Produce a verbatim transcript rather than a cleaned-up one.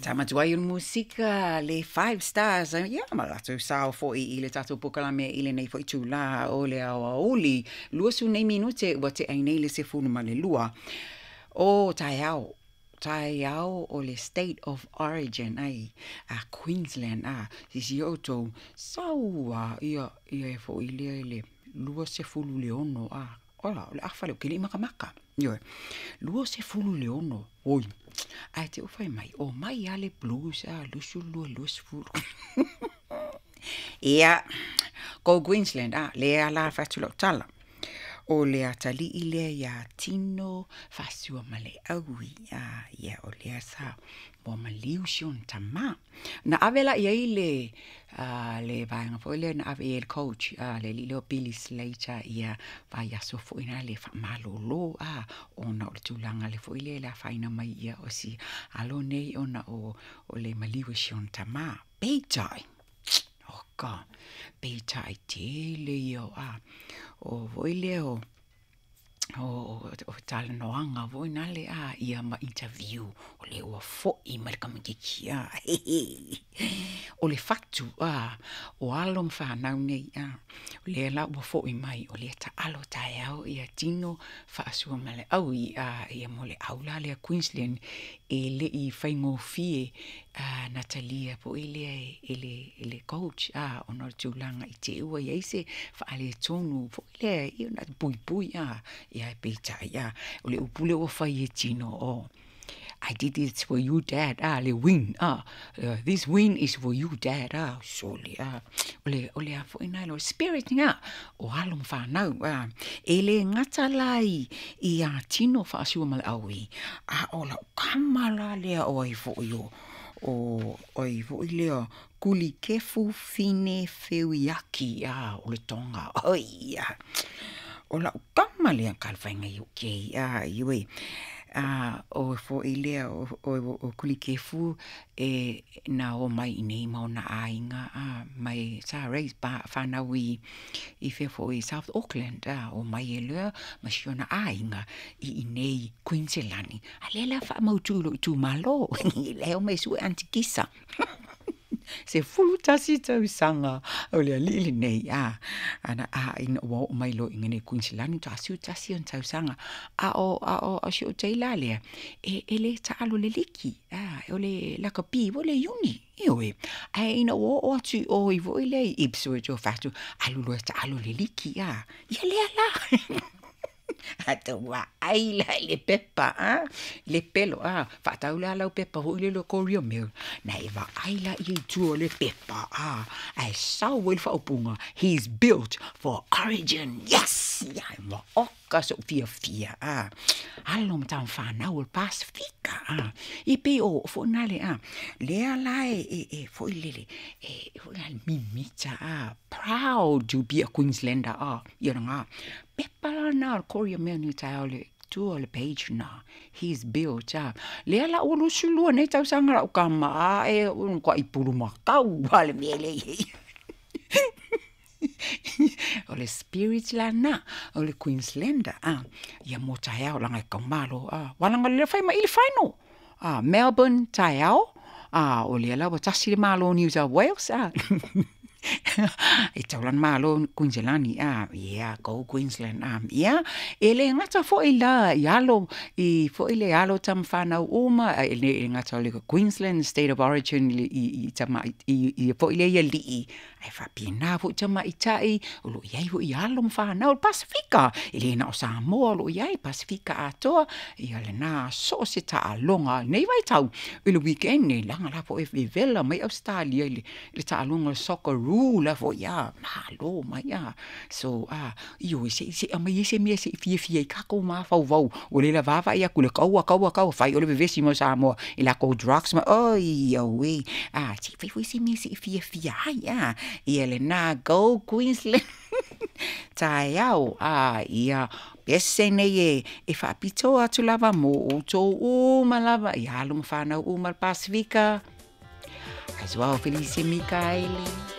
Tama tuai o le musika le Five Stars, ia ma latou sao fo'i i le tatou polokalame i lenei fo'i itulā o le aoauli, luasefulu nei minute ua te'a ai nei le sefulu ma le lua o taeao, taeao o le State of Origin ai a Queensland a. Silasila outou sau a ia ia e fo'i lea i le luasefulu le ono a, ola o le afa lea ou te le i makamaka, ioe, luasefulu le ono, oi, ae te i ua fai mai o mai lava le Blues a luasefulu lua luasefulu. Ia, go Queensland a, lea la fai atu lau tala. O le atalii lea iā Tino Faasuamaleaui a, ia o lea sa ua maliu si ona tamā. Na ave la i ai le a, le vaega foi lea na ave i ai le coach a, le alii lea o Billy Slater ia vaiaso foi na le faamalōlō a, ona o le tulaga le foi lea le afaina mai ia o si alo nei ona o, o le maliu e si ona tamā. Peitai, oka, peitai tele ia o a, o foi lea o, o, o, o talanoaga foi nale a ia ma interview o le ua fo'i mai le tamaitiiti a. O le fatu a o alo ma fanau nei a, o lea la ua fo'i mai o lea taalo taeao ia Tino Faasuamaleaui a, ia mo le au la lea Queensland e le'i faigofie a na talia fo'i lea e le, e le coach a, ona o le tulaga i te i ua i ai se faaletonu foi lea ia na puipui a, ia e peitai a o le upu lea ua fai e Tino, o "I did this for you, Dad," ah, le win ah, uh, "this win is for you, Dad," ah, sole ah, o le o le a foi na o spirit nga o alo ma fanau ah, e le gata la i i a Tino Faasuamaleaui a o lau kama la lea o ai fo'i o o oi fo'i lea Kulikefu Fine Feuiaki a o le Tonga oi a. O lau kama lea kalafaiga i U K a ioe a, o fo'i lea o, o, o Kulikefu e na o mai i nei ma ona aiga a, mai sa raise pa whanau i i fea fo'i South Auckland a, o mai e lea ma si ona aiga i i nei Queensland a lea la faamautu i lou itumalo lea o mai sue Aunty Kisa sefulu tasi tausaga o le alii lenei a ana a ina ua oo mai loa i nei Queensland toasiu tasi ona tausaga a o a o o si ou taila lea e, e le taalo le liki a, o le lakapi o le uni ioe, ae ina ua oo atu i o i foi lea i Ipswich o fatu alu loa e taalo le liki a, ia lea la atau ai la i le pepa a le pelo a faatau la lau pepa foi le le Courier Mail na e vaai la ia i tua o le pepa a, ae sau ai le faaupuga "He's built for Origin." Yes, ia ma oka so'u fiafia a, alo ma tamafanau o le Pasifika a, i pei o foi nale a lea la e e, e foi lele e foi la mimita a, proud to be a Queenslander a. Ia na pepa la na o le Courier Mail ni taeao le tua o le page na "He's built" a, lea la ua lusulua nei tausaga lau kama a e kwa i pulumakau a le mea lea i o le spirit la na o le Queenslander a. Ia mo taeao laga e kaumalo a walaga le fai mai i le final a Melbourne taeao a, o lea la ua tasi le malo New South Wales a e taulana malo Queensland a, yeah, go Queensland a. Ia e le gata fo'i la i alo i fo'i le alo tamafanau uma e le gata o le Queensland State of Origin i, i, i tama i, i fo'i le ia lii ae faapena fo'i tamaita'i o loo i ai fo'i alo ma fanau o le Pasifika e le na o Samoa o loo i ai Pasifika atoa ia lena so o se taaloga nei vaitau i le weekend nei laga la fo'i vevela mai Australia i le, le taaloga o le Socceroo la fo'i a malo mai a. So a ioe se se amai ai se mea se i fiafia i kākou mafaufau ua le lavavaai atu le kaua kaua kaua fai o le vevesi mo Samoa i lakou drugs ma oi auē a, se i fai foi se mea se i fiafia ai a. Ia lena go Queensland taeao a. Ia pese nei e e faapitoa atu lava mo outou uma lava i alo ma fanau uma le Pasifika. Aisuao Felice Mikaele.